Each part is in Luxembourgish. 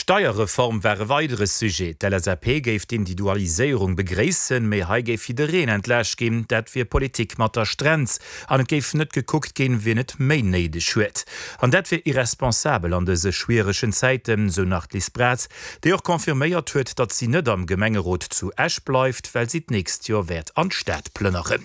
D'Steierreform war e weidere Sujet. D'LSAP géif d'Indidualiséierung begréissen, mee hei géif jiddereen entlaascht ginn. Dat wier Politik mat der Strenz an et géif net gekuckt ginn, wien et méi néideg huet. An dat wier irresponsabel an dëse schwieregen Zäiten, sou nach d'Liz Braz, déi och confirméiert huet, datt si net am Gemengerot zu Esch bleift, well si d'nächst Joer wäert an d'Stad plënneren.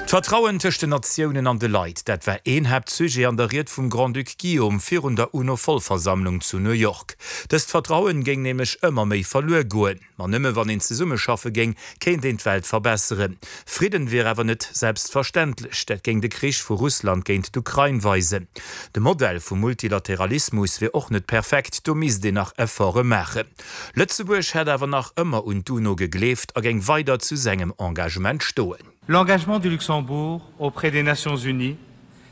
D'Vertrauen tëscht den Natiounen an de Leit, dat war een Haaptsujet an der Ried vum Grand-Duc Guillaume virun der UNO-Vollversammlung zu New York. Dëst Vertrauen géing nämlech ëmmer méi verluer goen. Ma nëmme wann een zesummeschaffe géing, kéint een d'Welt verbesseren. Fridden wier awer net selbstverständlech. Dat géing de Krich vu Russland géint d'Ukrain weisen. De Modell vum Multilateralismus wier och net perfekt, do misst een nach Efforte maachen. Lëtzebuerg hätt awer nach ëmmer un d'UNO gegleeft a géing weider zu sengem Engagement stoen. L'engagement du Luxembourg auprès des Nations Unies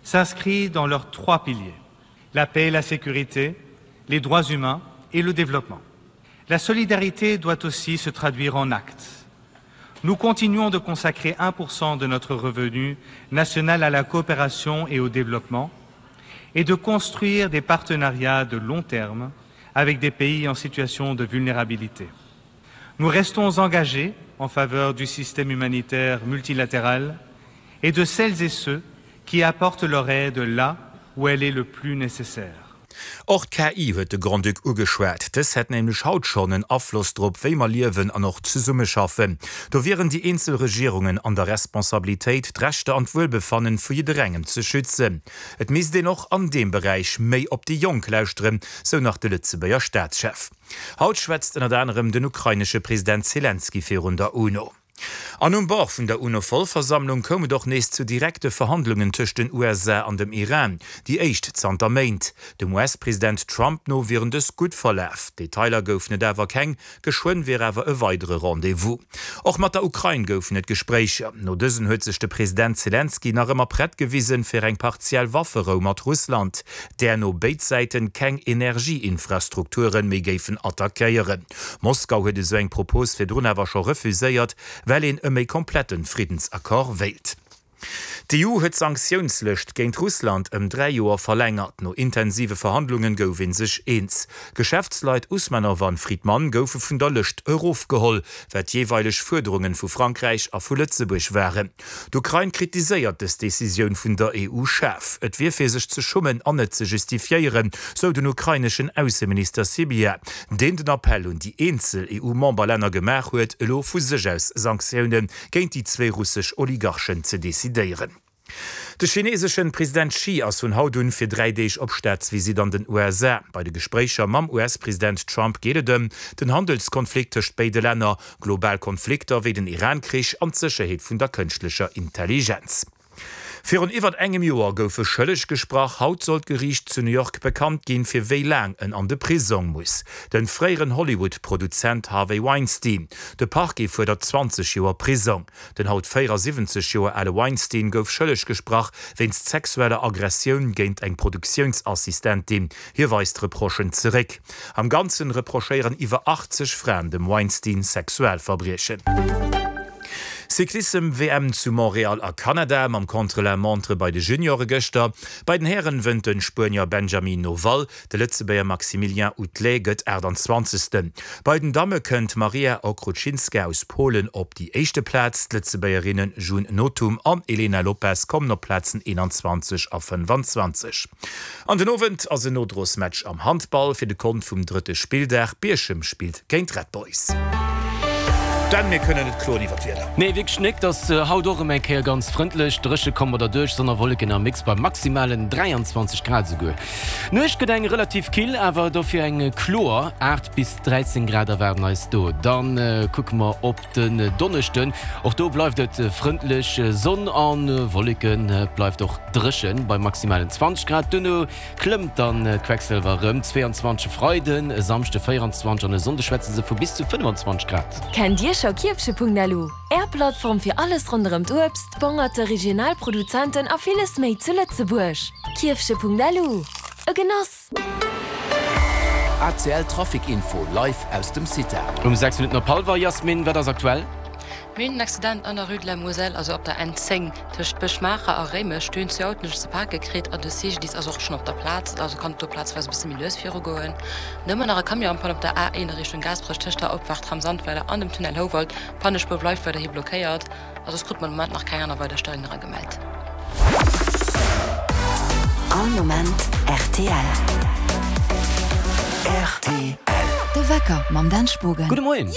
s'inscrit dans leurs trois piliers: la paix et la sécurité, les droits humains et le développement. La solidarité doit aussi se traduire en actes. Nous continuons de consacrer 1% de notre revenu national à la coopération et au développement et de construire des partenariats de long terme avec des pays en situation de vulnérabilité. Nous restons engagés en faveur du système humanitaire multilatéral et de celles et ceux qui apportent leur aide là où elle est le plus nécessaire. Och d'KI huet de Grand-Duc ugeschwat. Dës hätt nämlech haut schonn en Afloss drop, wéi mer liewen an och zesummeschaffen. Do wieren déi eenzel Regierungen an der Responsabilitéit, d'Rechter an d'Wuelbefannen vu jidderengem ze schützen. Et misst een och an deem Beräich méi op déi Jonk lauschteren, sou nach de Lëtzebuerger Staatschef. Haut schwätzt ënnert anerem den ukrainesche President Selenskyj virun der UNO. An um Bord vun der UNO-Vollversammlung koum et och nees zu direkte Verhandlungen tëscht den USA an dem Iran, déi éischt zanter Méint. Dem US-President Trump no wieren dës gutt verlaf, Detailer goufen et awer keng. Geschwënn wier awer e weidere Rendez-vous. Och mat der Ukrain goufen et Gespréicher. No dësen huet sech de President Selenskyj nach ëmmer prett gewisen, fir eng partiell Wafferou mat Russland, där no béid Säiten keng Energieinfrastrukture méi géifen attackéieren. Moskau huet esou eng Propos virdrun awer scho refuséiert, well een e méi komplette Friddensaccord wéilt. D'EU huet d'Sanktiounslëscht géint Russland ëm 3 Joer verlängert. No intensive Verhandlungen gouf ee sech eens. D'Geschäftsleit Usmanov an Fridman goufe vun der Lëscht erofgeholl, wat jeeweileg Fuerderungen vu Frankräich a vu Lëtzebuerg waren. D'Ukrain kritiséiert dës Decisioun vun der EU schaarf. Et wier fir sech ze schummen an net ze justifiéieren, sou den ukraineschen Ausseminister Sybiha, deen den Appell un déi eenzel EU-Memberlänner gemaach huet, elo vu sech aus Sanktioune géint déi zwéi russesch Oligarchen ze decidéieren. De chineeseschen President Xi ass vun haut un fir 3 Deeg op Staatsvisitt an den USA. Bei de Gespréicher mam US-President Trump geet et ëm den Handelskonflikt tëscht béide Länner, global Konflikter wéi den Iran-Krich an d'Sécherheet vun der kënschtlecher Intelligenz. Virun iwwert engem Joer gouf e schëlleg gesprach. Haut soll d'Geriicht zu New York bekannt ginn, fir wéi laang en an de Prisong muss. Den fréieren Hollywood-Produzent Harvey Weinstein. De Parquet fuerdert 20 Joer Prisong. Den haut 74 Joer ale Weinstein gouf schëlleg gesprach wéinst sexueller Aggressioun géint eng Produktiounsassistentin. Hie weist d'Reprochen zeréck. Am Ganzen reprochéieren iwwer 80 Fraen dem Weinstein Sexualverbriechen. Cyclissem-WM zu Montréal a Kanada mam Contre-la-montre bei de Juniore gëschter. Bei den Hären wënnt de Spuenier Benjamin Noval, de Lëtzebuerger Maximilien Outelet gëtt 28. Bei den Damme kënnt d'Maria Okrucinska aus Polen op déi éischte Plaz, d'Lëtzebuergerinne June Nothum an Elena Lopes kommen op d'Plazen 21 a 25. An den Owend ass en Nodrosmatch am Handball fir de Kont vum drëtte Spilldag. Bierchem spillt géint Red Boys. Dan, mir kënnen net kloen iwwer d'Wieder. Nee, wierklech nik. Et ass haut och erëm eng Kéier ganz frëndlech, dréche komm mer derduerch, Sonn a Wolleken am Mix bei maximalen 23 Grad esouguer. D'Nuecht gëtt eng relativ kill, awer dofir eng kloer, 8 bis 13 Grad erwaarden eis do. Dann kucke mer op den Donneschden, och do bleift et frëndlech, Sonn a Wolleken, et bleift och dréchen bei maximalen 20 Grad. Duerno klëmmt dann d'Quecksëlwer erëm, 22 e Freiden, e Samschde 24 an e Sonnde schwätze se vu bis zu 25 Grad. Kennt Dir scho Kierfche.lu, Är Plattform fir alles ronderëm d'Uebst, d'Bongerte, regional Produzenten a villes méi zu Lëtzebuerg? Kierfche.lu, e Genoss! ACL Trafic Info live aus dem CITA. Um 6 Minutten op hallwer, Jasmin, wat ass aktuell? Mir hunn en Accident an der Rue de la Moselle, also op der N10 tëscht Bësch-Maacher a Réimech. Do hunn zwee Autoen sech ze pake kritt an de CGDIS ass och schonn op der Plaz, also kann et do plazweis e bësse méi lues virugoen. Dann hu mer nach e Camion en panne op der A1 a Richtung Gaasperech tëscht der Opfaart Tram Sandweiler an dem Tunnel Houwald. D'Pannespuer bleift weiderhi blockéiert a soss krute mer de Moment nach keng aner weider Stéierungen era gemellt. All Moment rtl. Rtl. De Wecker mam Dan Spogen. Gudde Moien.